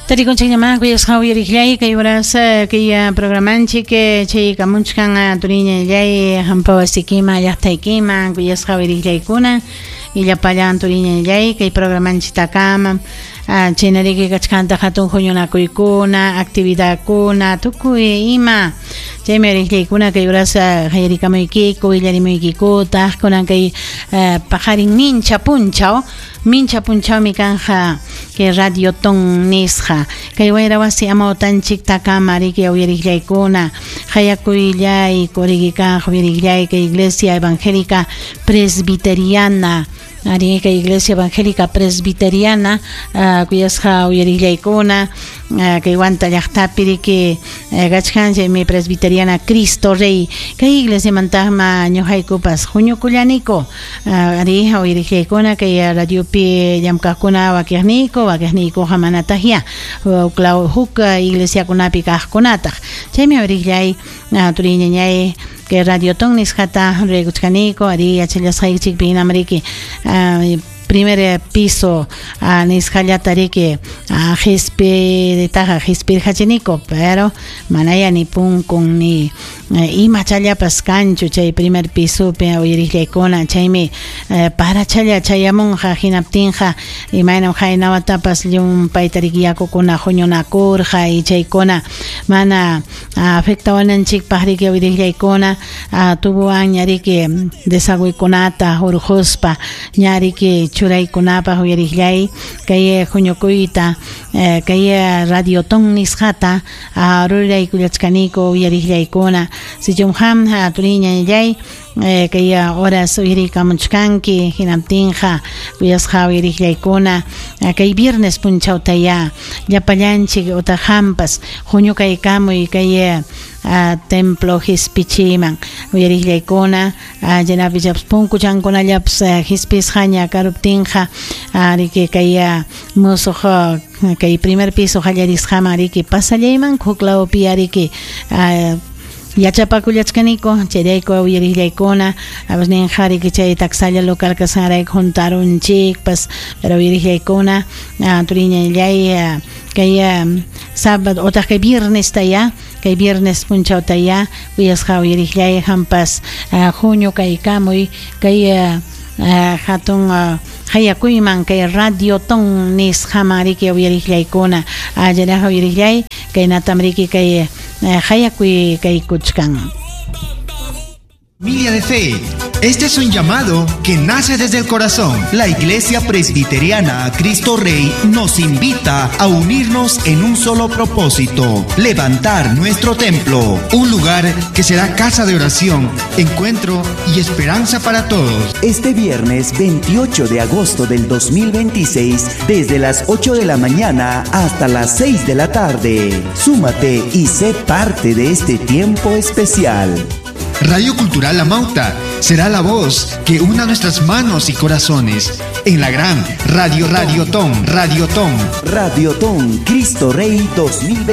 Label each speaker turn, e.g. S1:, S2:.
S1: Tarikunchikñamá kuyasqa uyariqllay kay horas kay programanchik chay kamunchkan turiñallay hampa wasiykima llaqtaykiman kuyasqa uyariqllaykuna y llapallan turiñallay kay programanchiktakama chaynariki kachkantaq hatun huñunakuykuna actividadkuna tukuy ima chaymi uyariqllaykuna kay horas qayarikamuykiku willarimuykikutaq kunan kay paqarin mincha punchaw mincha punchawmi kanja kay Radiotón nisqa kay wayra wasi amawtanchiktakama riki uyariqllaykuna qayakuyllayku riki kaq uyariqllay kay Iglesia Evangélica Presbiteriana ari kay Iglesia Evangélica Presbiteriana kuyasqa uyariqllaykuna kay Huanta llaqtapi riki kachkan chaymi Presbiteriana Cristo Rey kay iglesiamantaqma ñuqaykupas huñukullaniku ari uyariqllaykuna kay radiopi llamkaqkuna wakiqniyku wakiqniykuqa manataqya huklaw huk iglesiakunapi kaqkunataq chaymi uyariqllay turiñañay kay Radiotón nisqata ruraykuchkaniku ari yachallasqaykichikpi hinam riki primer piso nisqallata riki qispiritaqa qispirqachiniku pero manaya ni punkun ni imachallapas kanchu chay primer pisopi uyariqllaykuna chaymi parachalla chayamunqa hinaptinqa imaynam haynawatapas llumpayta riki yakukuna huñunakurqa y chaykuna mana afectawananchikpaq riki uyariqllaykuna tubuwan ña riki desagüekunata hurquspa ña riki churaykunapaq uyariqllay kay huñukuyta kay Radiotón nisqata ruraykullachkaniku uyariqllaykuna sichum qam turiñallay kay horas uyarikamuchkanki hinaptinqa kuyasqa uyariqllaykuna kay viernes punchawtaya llapallanchik utaq qampas huñukaykamuy kay templo qispichiman uyariqllaykuna chaynapi punkuchankunallapas qispisqaña karuptinqa riki kay musuq kay primer piso qallarisqaman riki pasallayman huklawpi riki yachapakullachkaniku chayrayku uyariqllaykuna ninqa riki chay taksalla local kasqanrayku juntarunchikpas pero uyariqllaykuna turiñallay kay sábado otaq kay viernestaya kay viernes punchawtaya kuyasqa uyariqllay qampas huñukaykamuy kay hatun hayakuyman kay Radiotón nisqaman riki uyariqllaykuna allaraqa uyariqllay kaynatam riki kay hayakuy kaykuchkan.
S2: Familia de fe, este es un llamado que nace desde el corazón.
S3: La Iglesia Presbiteriana Cristo Rey nos invita a unirnos en un solo propósito: levantar nuestro templo.
S2: Un lugar que será casa de oración, encuentro y esperanza para todos.
S3: Este viernes 28 de agosto del 2026, desde las 8 de la mañana hasta las 6 de la tarde. Súmate y sé parte de este tiempo especial.
S2: Radio Cultural Amauta será la voz que una nuestras manos y corazones en la gran Radio Radiotón, Radiotón.
S3: Radiotón Cristo Rey 2026.